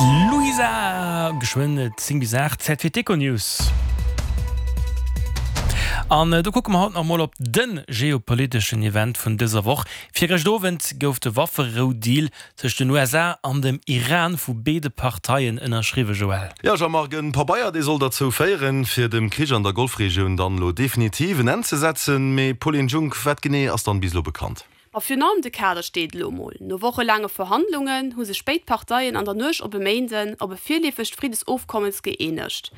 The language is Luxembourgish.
D'Luisa, geschwënn 10 bis 8, Zäit fir d'Econews. An do kucke mer haut nach emol op de geopoliteschen Event vun dëser Woch. Virgëscht Owend gouf de Wafferou-Deal tëscht den USA an dem Iran vu béide Parteien ënnerschriwwen, Joël. Jo, Jean-Marc, en Pabeier, dee soll derzou féieren, fir dem Krich an der Golfregioun dann elo definitiv en Enn ze setzen. Mee Pauline Junck, wat genee ass dann bis elo bekannt? Ma virun allem de Kader steet elo mol. No wochelaange Verhandlungen hu sech béid Parteien an der Nuecht op e Méinden op e virleefegt Friddesofkommes gëeenegt.